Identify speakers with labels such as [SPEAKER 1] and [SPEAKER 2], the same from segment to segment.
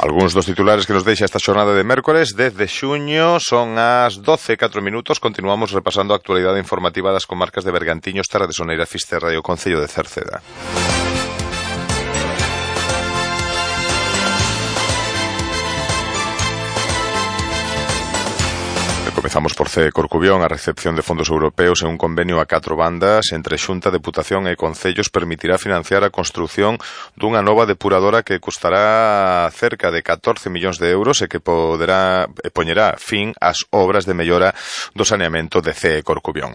[SPEAKER 1] Algúns dos titulares que nos deixa esta xornada de mércores 10 de xuño son as 12:04. Continuamos repasando a actualidade informativa das comarcas de Bergantiños, Terra de Soneira, Fisterra e o concello de Cerceda. Comezamos por CEE Corcubión. A recepción de fondos europeos en un convenio a 4 bandas entre Xunta, Deputación e Concellos permitirá financiar a construción dunha nova depuradora que custará cerca de 14 millóns de euros e que poñerá fin ás obras de mellora do saneamento de CEE Corcubión.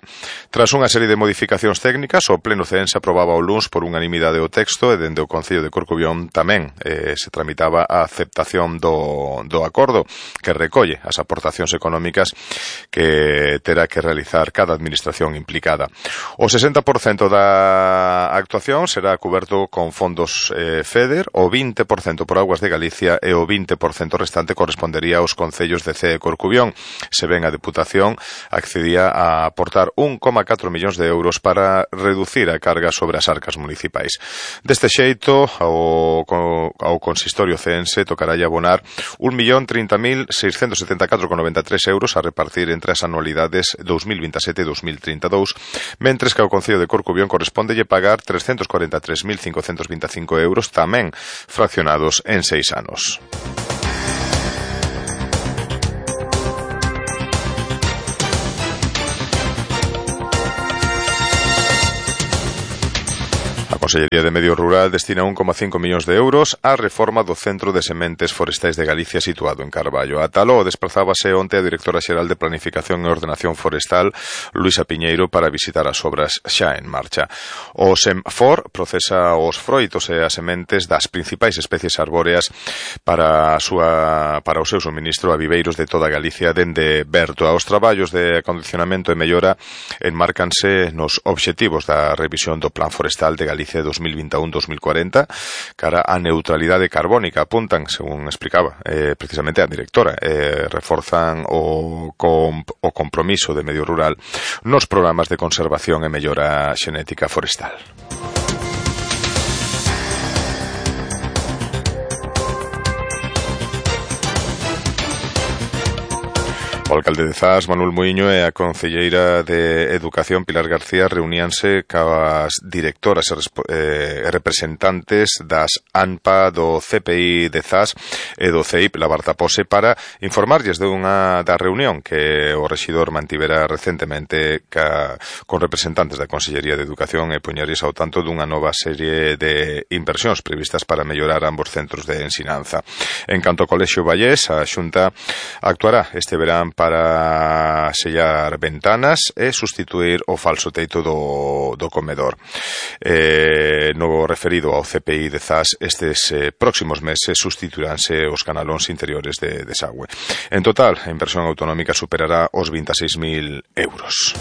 [SPEAKER 1] Tras unha serie de modificacións técnicas, o Pleno ceense aprobaba o luns por unanimidade o texto e dende o Concello de Corcubión tamén se tramitaba a aceptación do acordo que recolle as aportacións económicas que terá que realizar cada administración implicada. O 60% da actuación será cuberto con fondos FEDER, o 20% por Augas de Galicia e o 20% restante correspondería aos concellos de CEE Corcubión, se ben a Deputación accedía a aportar 1,4 millóns de euros para reducir a carga sobre as arcas municipais. Deste xeito, ao consistorio ceense tocará abonar 1.030.674,93 euros a repartir entre as anualidades 2027 e 2032, mentres que ao Concello de Corcubión correspóndelle pagar 343.525 euros, tamén fraccionados en 6 anos. A Consellería de Medio Rural destina 1,5 millóns de euros á reforma do Centro de Sementes Forestais de Galicia situado en Carballo. A Taló desprazábase onte a Directora Xeral de Planificación e Ordenación Forestal, Luisa Piñeiro, para visitar as obras xa en marcha. O SEMFOR procesa os froitos e as sementes das principais especies arbóreas para o seu suministro a viveiros de toda Galicia dende Berto. Os traballos de acondicionamento e mellora enmárcanse nos obxectivos da revisión do Plan Forestal de Galicia 2021-2040 cara á neutralidade carbónica. Apuntan, según explicaba precisamente a directora, reforzan o compromiso de medio rural nos programas de conservación e mellora xenética forestal. O alcalde de Zas, Manuel Muiño, e a concelleira de Educación, Pilar García, reuníanse coas directoras e representantes das ANPA, do CPI de Zas e do CEIP Labartapose para informarlles da reunión que o rexidor mantivera recentemente con representantes da Consellería de Educación e poñerlles ao tanto dunha nova serie de inversións previstas para mellorar ambos centros de ensinanza. En canto ao Colexio Vallés, a Xunta actuará este verán para sellar ventanas e sustituir o falso teito do comedor. No referido ao CPI de Zas, estes próximos meses sustituiránse os canalóns interiores de desagüe. En total, a inversión autonómica superará os 26.000 euros.